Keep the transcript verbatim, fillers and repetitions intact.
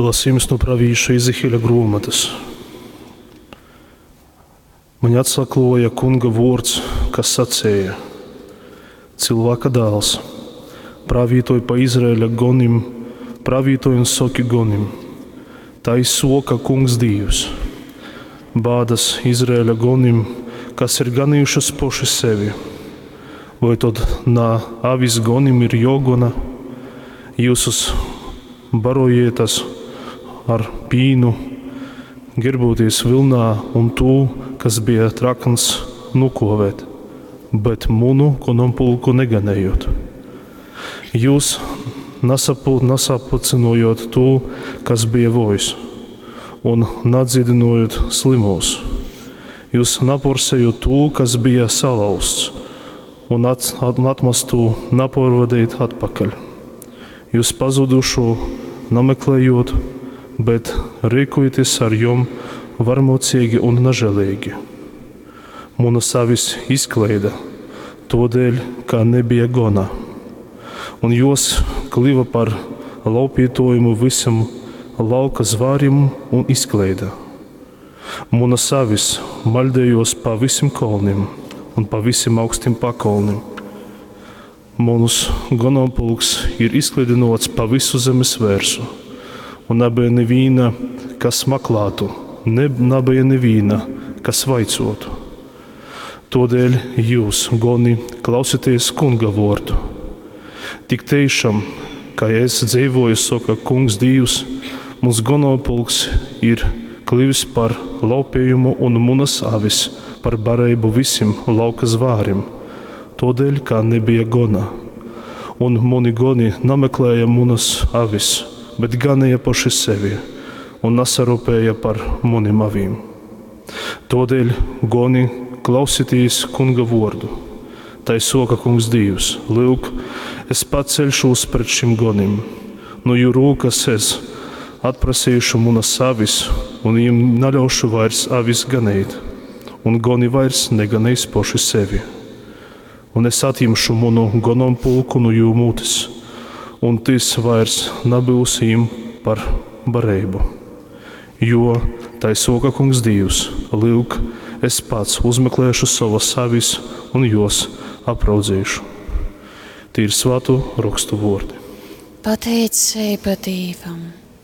Lasījums no pravīša Ezehiela grāmatas. Man atsakloja kunga vārds, kas sacēja: Cilvēka dēls, pravītoj pa Izraēļa gonim, pravītoj un soki gonim. Tai soka kungs Dīvs. Bādas Izraēļa gonim, kas ir ganījušas poši sevi. Vai tad na avis gonim ir jogona? Jūsus barojietas ar pīnu, gerbūties vilnā un tū, kas bija trakns, nukovēt, bet munu gonompulku neganējot. Jūs nasapu, nasapulcinojot tū, kas bija vojs, un nadziedinojot slimos. Jūs naporsējot tū, kas bija salauzts, un, at, un atmestu naporvadīt atpakaļ. Jūs pazudušo nameklējot, bet rīkojaties ar jom varmocīgi un nažēlīgi. Munas avis izkleida, todēļ, ka nebija gona, un jos kliva par laupītojumu visam lauka zvārim un izkleida. Munas avis maļdējos pa visiem kolnim un pa visiem augstiem pakolnim. Munus gonompulks ir izklidinots pa visu zemes vērsu, un nebija neviena, kas maklātu, ne, nebija neviena, kas vaicotu. Todēļ jūs, goni, klausieties kunga vārdu. Tik tiešām, kā es dzīvoju, saka kungs Dievs, mums gonopulks ir klivis par laupījumu un munas avis par barību visiem lauka zvārim, todēļ, kā nebija gona. Un muni goni nameklēja munas avis, bet ganīja paši sevi un nasarūpēja par munim avīm. Todēļ, goni, klausieties kunga vārdu. Tai soka kungs Dievs, lūk, es paceļšos pret šim gonim. No jū rūkas es atprasīšu munas avis, un viņiem neļaušu vairs avis ganīt, un goni vairs neganīs poši sevi. Un es atņemšu munu gonompulku no jū mutes, un tis vairs nebūs viņiem par barību. Jo tai soka kungs Dievs, lūk, es pats uzmeklēšu savas avis un jos apraudzīšu. Tie ir svātu rakstu vārdi. Pateicība Dievam!